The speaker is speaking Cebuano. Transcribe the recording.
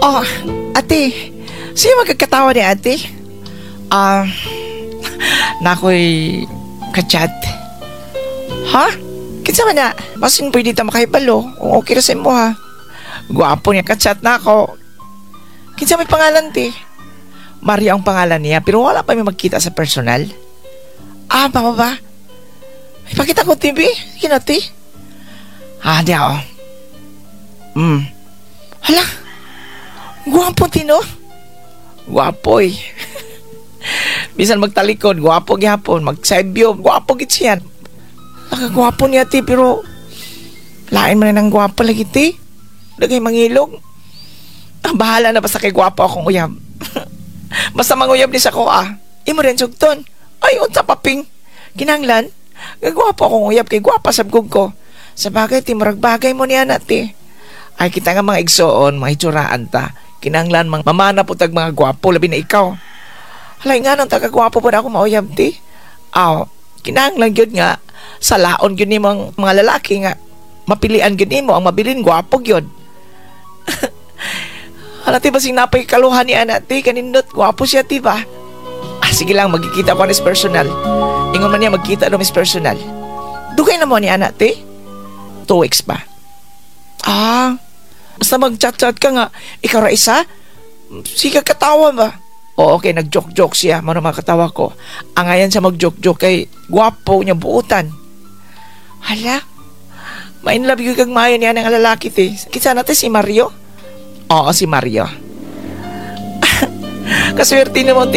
Oh, ate. Sino magkakatawa ni ate? Ah, nakoy kachat. Ha? Kinsa man na? Basin pwede ta makahibalo kung okay ra sa imo ha. Gwapo niya kachat na ako. Kinsa may pangalan, te? Mario ang pangalan niya, pero wala pa may magkita sa personal. Ah, mao ba? Ipakita ko TV. Sige na, te. Ah, di ako. Hala. Gwapo, te, no? Gwapo eh. Bisan magtalikod, gwapo gihapon. Mag-side view, gwapo gid siya. Nakagwapo niya, te, pero lain man ang gwapo lagi, te. Daghay mangilog. Ah, bahala na basta kay gwapo akong uyab. Basta manguyab ni sa ko ah. Imo rin sugton. Ay, unsa paping. Kinanglan, gagwapo akong uyab kay gwapa sab ko. Sa bagay, ti, murag bagay mo niya na, te. Ay, kita nga mga igsoon, mga hitsuraan ta. Kinanglan, mga mamana po tag mga gwapo, labi na ikaw. Halay nga nang tagagwapo po na ako mauyab, ti. Aw, kinanglan gyud nga, sa laon gyud nimo ang mga lalaki nga, mapilian gyud nimo ang mabilin gwapo gyud. Hala, ti, basing napay kaluhan ni ana, ti, kanindot, gwapo siya, ti ba? Ah, sige lang, magkikita ko is personal. Ingon man niya magkita daw is personal. Dugay na mo ni ana, ti? 2 weeks pa. Ah, basta mag-chat-chat ka nga, ikaw ra isa? Sige, katawa ba? Oo, okay, nag-joke-joke siya. Mano mga katawa ko. Angayan siya mag-joke-joke kay gwapo niya buutan. Hala, ma-in love yun kag maayo niya ng lalaki, te. Kinsa na, te, si Mario? Oo, si Mario. Kaswerte naman.